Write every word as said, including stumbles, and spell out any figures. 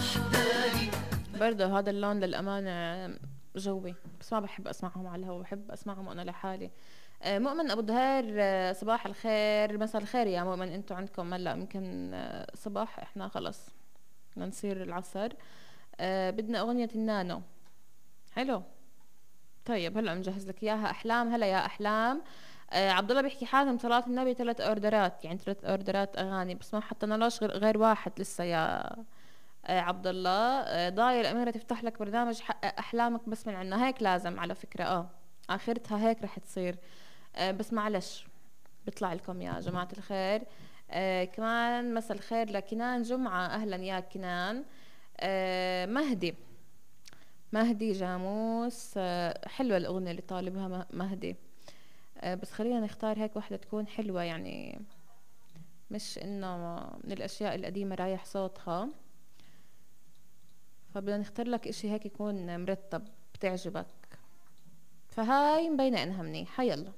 وحداني. برضه هذا اللون للأمانة جوي، بس ما بحب أسمعهم على الهوا، بحب أسمعهم وأنا لحالي. آه، مؤمن أبو دهير، آه، صباح الخير، مساء الخير يا مؤمن. انتوا عندكم هلا يمكن آه، صباح، احنا خلص بدنا نصير العصر. آه، بدنا أغنية النانو. حلو، طيب هلا بنجهز لك اياها. احلام، هلا يا احلام. آه عبد الله بيحكي حاتم صلاة النبي ثلاث اوردرات، يعني ثلاث اوردرات اغاني، بس ما حطينا لهش غير, غير واحد لسه يا آه عبد الله. آه ضايل الاميره تفتح لك برنامج حقق احلامك، بس من عنا هيك لازم على فكره، اه اخرتها هيك رح تصير. آه بس معلش بيطلع لكم يا جماعه الخير. آه كمان مساء الخير لكنان جمعه، اهلا يا كنان. آه مهدي، مهدي جاموس. آه، حلوة الأغنية اللي طالبها مه- مهدي. آه، بس خلينا نختار هيك واحدة تكون حلوة، يعني مش إنه من الأشياء القديمة رايح صوتها. فبدنا نختار لك إشي هيك يكون مرتب بتعجبك، فهاي مبينة إنها منيحة. يلا